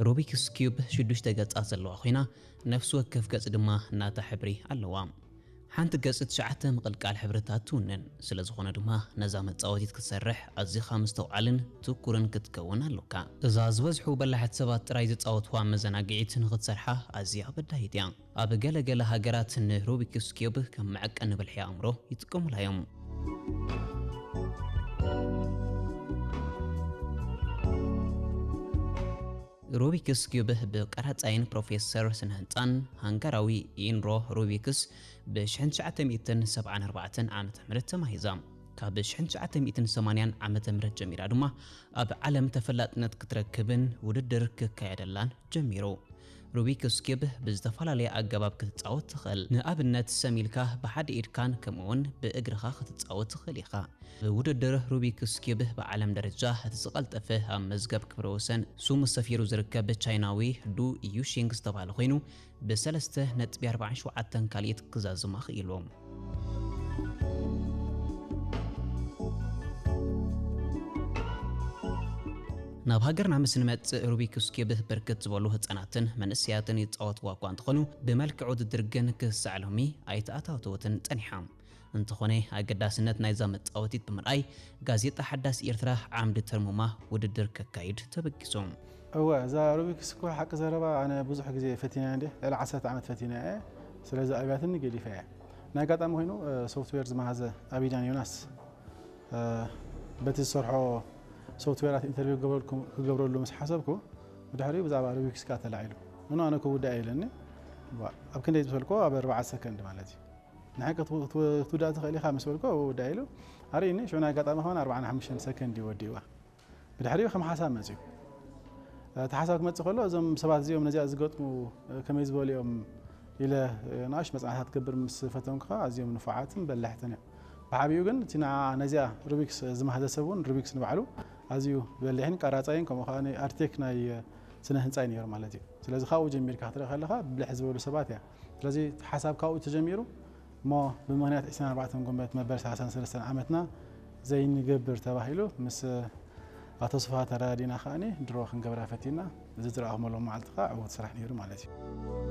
ሩቢክስ ኪዩብ ሽዱሽተ ገጻት ዘለዋ ኮይና፣ ነፍሲ ወከፍ ገጽ ድማ ናታ ሕብሪ ኣለዋ። ሓንቲ ገጽ ትሽዓተ ምቕልቃል ሕብርታት ትውንን። ስለ ዝኾነ ድማ ነዛ መጻወቲት ክትሰርሕ ኣዚኻ ምስትውዓልን ትኩርን ክትከውን ኣሎካ። እዛ ዝበዝሑ በላሕቲ ሰባት ጥራይ ዝጻወትዋ መዘናግዒት ንኽትሰርሓ ኣዝያ ኣበዳሂት እያ። ኣብ ገለ ገለ ሃገራት ንሩቢክስ ኪዩብ ከም መዐቀኒ ብልሒ ኣእምሮ ይጥቀሙላ እዮም። ሩቢክስ ኪዩብ ብቀራጻይን ፕሮፌሰር ስነ ህንጻን ሃንጋራዊ ኢንሮ ሩቢክስ ብ ትሽዓተ ሚእትን ሰብዓን ኣርባዕተን ዓመተ ምህረት ተማሂዛ። ካብ ትሽዓተ ሚእትን ሰማንያን ዓመተ ምህረት ጀሚራ ድማ ኣብ ዓለም ተፈላጥነት ክትረክብን ውድድር ክካየደላን ጀሚሩ። ሩቢክስ ኪዩብ ብዝተፈላለየ ኣገባብ ክትጻወት ትኽእል። ንኣብነት፣ ሰም ኢልካ ብሓደ ኢድካን ከምኡውን ብእግርኻ ክትጻወት ትኽእል ኢኻ። ብውድድር ሩቢክስ ኪዩብ ብዓለም ደረጃ እቲ ዝቐልጠፈ ኣብ መዝገብ ክብረ ወሰን ስሙ ሰፊሩ ዝርከብ ቻይናዊ ዱ ዩሺንግ ዝተባህለ ኮይኑ፣ ብ ሰለስተ ነጥቢ ኣርባዓን ሸውዓተን ካልኢት ክዛዝማ ክኢሉ። ናብ ሃገርና ምስ ንመጽእ፣ ሩቢክስ ኪዩብ ብርክት ዝበሉ ህጻናትን መንእሰያትን ይጻወትዋ እኳ እንተኾኑ፣ ብመልክዕ ውድድር ግን ክሳዕ ሎሚ ኣይተኣታተወትን ጸኒሓ። እንተኾነ፣ ኣገዳስነት ናይዛ መጻወቲት ብምርኣይ፣ ጋዜጣ ሓዳስ ኤርትራ ዓምዲ ተርሙማ ውድድር ከካይድ ተበጊሱ። እወ፣ እዛ ሩቢክስ እኮ ሓቂ ዘረባ ኣነ ብዙሕ ግዜ ፈቲነያ እንዴ፣ ልዕሊ ዓሰርተ ዓመት ፈቲነያ እየ። ስለዚ ኣብያትኒ ገዲፈያ እየ። ናይ ኣጋጣሚ ኮይኑ፣ እ፣ ሶፍትዌር ዝመሃዘ ኣቢዳን ዮናስ፣ እ፣ በቲ ዝሰርሖ ሶፍትዌራት ኢንተርቪው ክገብረልኩም-፣ ክገብረሉ ምስ ሓሰብኩ፣ ብድሕሪኡ ብዛዕባ ሩቢክስ ከኣ ተላዒሉ። ምኑ ኣነ ክውዳእ ኢለኒ። ዋ፣ ኣብ ክንደይ ዝበልኩ፣ ኣብ ኣርባዓ ሰከንድ ማለት እዩ። ንሓቂ ክትው-፣ ክትው-፣ ክትውዳእ ትኽእል ኢኻ ምስ በልኩ፣ እወ፣ እውዳእ ኢሉ ኣርእዩኒ። ሽዑ ናይ ኣጋጣሚ ከማን ኣርባዓን ሓሙሽተን ሰከንድ እዩ ወዲእዋ። ብድሕሪኡ ከም ሓሳብ መጺኡ። እቲ ሓሳብ ክመጽእ ከሎ፣ እዞም ሰባት እዚኦም ነዚኣ ዝገጥሙ ከመይ ዝበሉ እዮም ኢለ ንኣሽ መጽናዕታት ክገብር ምስ ፈተንኩ ከኣ፣ ኣዝዮም ንፉዓትን በላሕትን እዮም። ብዓቢኡ ግን እቲ ንዓ ነዚኣ ሩቢክስ ዝመሃዘ ሰብ እውን ሩቢክስ ንባዕሉ ኣዝዩ በሊሕን ቀራጻይን ከምኡ ከኣ ኣርቴክ ናይ ስነ ህንጻ እዩ ነይሩ ማለት እዩ። ስለዚ ካብኡ ጀሚርካ ክትርኢ ከለኻ ብልሕ ዝበሉ ሰባት እያ። ስለዚ እቲ ሓሳብ ካብኡ ተጀሚሩ እሞ ብምኽንያት ዕስራን ኣርባዕተን ጉንበት መበል ሰላሳን ሰለስተን ዓመትና ዘይንገብር ተባሂሉ ምስ ኣቶ ስብሃት ተረዳዲና ከኣኒ ድሮ ክንገብራ ፈቲና እዚ ዝረኣኹም ኣለዉ መዓልቲ ከኣ ዕዉት ስራሕ ነይሩ ማለት እዩ።